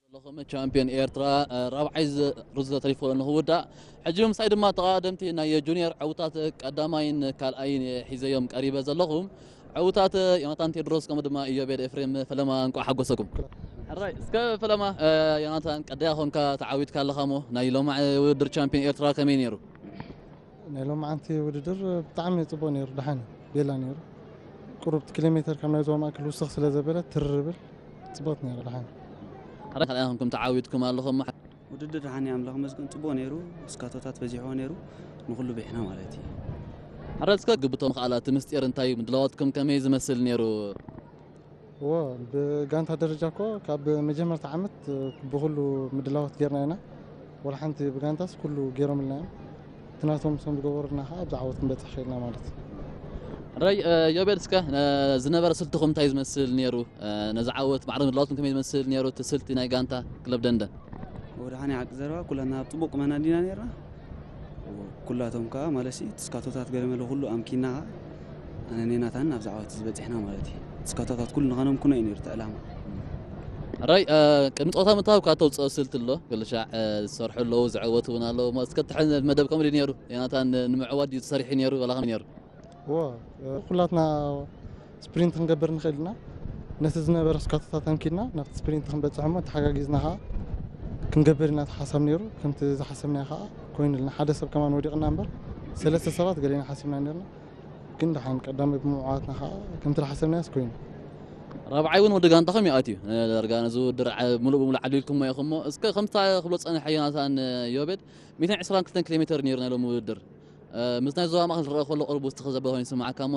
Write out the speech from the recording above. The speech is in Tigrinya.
ኣለኹም ቻምፒዮን ኤርትራ ራብዓይ ዙር ተሪፎ ንኽውዳእ፣ ሕጂ ምሳይ ድማ ተቐዳደምቲ ናይ ጁኒየር ዕውታት ቀዳማይን ካልኣይን ሒዘዮም ቀሪበ ዘለኹ። ዕውታት ዮናታን ቴድሮስ ከምኡ ድማ ኢዮቤድ ኤፍሬም ፈለማ እንቋዕ ሓጎሰኩም። ሕራይ እስከ ፈለማ ዮናታን ቀዳያ ኾንካ ተዓዊትካ ኣለኻ እሞ ናይ ሎማዕ ውድድር ቻምፒዮን ኤርትራ ከመይ ነይሩ? ናይ ሎማዓንቲ ውድድር ብጣዕሚ ጽቡቕ ነይሩ፣ ደሓን ቤላ ነይሩ። ቁሩብ ኪሎ ሜተር ካብ ናይ ዞባ ማእከል ውስኽ ስለ ዘበለ ትርርብል ጽቡቕ ነይሩ፣ ደሓን። ሕራይ ካልኣይ ኾንኩም ተዓዊትኩም ኣለኹም። ውድድር ደሓን እዩ፣ ኣምላኽ ይመስገን ጽቡቕ ነይሩ። እስካቶታት በዚሕዎ ነይሩ፣ ንኹሉ ብሒና ማለት እዩ። ሕራይ እስከ ግብቶም ከኣላ እቲ ምስጢር እንታይ እዩ? ምድላዋትኩም ከመይ ዝመስል ነይሩ? እዎ፣ ብጋንታ ደረጃ እኮ ካብ መጀመርታ ዓመት ብኹሉ ምድላዋት ጌርና ኢና። ወላ ሓንቲ ብጋንታስ ኩሉ ጌሮምልና እዮም። እቲ ናቶም ሶም ዝገበሩልና ከዓ ኣብዚ ዓወት ክንበፅሕ ኽኢልና ማለት እዩ። ሕራይ ዮቤድ እስከ ዝነበረ ስልትኹም እንታይ ዝመስል ነይሩ? ነዚ ዓወት ማዕረ ምድላዋትኩም ከመይ ዝመስል ነይሩ? እቲ ስልቲ ናይ ጋንታ ክለብ ደንደን። ወደ ሓኒ ሓቂ ዘረባ ኩላና ኣብ ፅቡቅ ቁመና እንዲና ነርና። ኩላቶም ከዓ ማለት ሲ እቲ ስካቶታት ገለመለ ኩሉ ኣምኪና ከዓ ኣነ ኔናታን ኣብዚ ዓወት ዝበፅሕና ማለት እዩ። ስካቶታት ኩሉ ንኸነምኩኖ እዩ ነይሩ እቲ ዕላማ። ሕራይ ቅድሚ ፀወታ ምትሃብ ካብ ተውፅኦ ስልቲ ኣሎ፣ ገለሻዕ ዝሰርሑ ኣለዉ፣ ዝዕወቱ እውን ኣለዉ። እሞ እስከ ትሕን መደብ ከምኡ ድዩ ነይሩ? ዮናታን ንምዕዋት ድዩ ተሰሪሑ ነይሩ? ዋላ ከመይ ነይሩ? እዎ፣ ኩላትና ስፕሪንት ክንገብር ንኽእል ኢና። ነቲ ዝነበረ ስካቶታት ኣምኪድና ናብቲ ስፕሪንት ክንበፅሕ እሞ ተሓጋጊዝና ከዓ ክንገብር ኢና እቲ ሓሳብ ነይሩ። ከምቲ ዝሓሰብናዮ ከዓ ኮይኑልና። ሓደ ሰብ ከማን ወዲቕና እምበር ሰለስተ ሰባት ገሌና ሓሲብና ነርና። ግን ደሓን ቀዳማይ ብምዕዋትና ከዓ ከምቲ ዝሓሰብናዮስ ኮይኑ። ራብዓይ እውን ወዲ ጋንታኹም እዩ ኣትዩ። ዳርጋ ነዚ ውድድር ዓ- ምሉእ ብምሉእ ዓሊልኩሞ ኢኹም እሞ እስከ ከምታ ክብሎ ፀንሐ ዮናታን ዮቤድ ሚእትን ዕስራን ክልተን ኪሎ ሜትር ነይሩ ናይ ሎሚ ውድድር። ምስ ናይ ዞባ ማእኸል ዝረአ ከሎ ቁሩብ ውስኽ ዘበለ ኮይኑ ይስምዓካ እሞ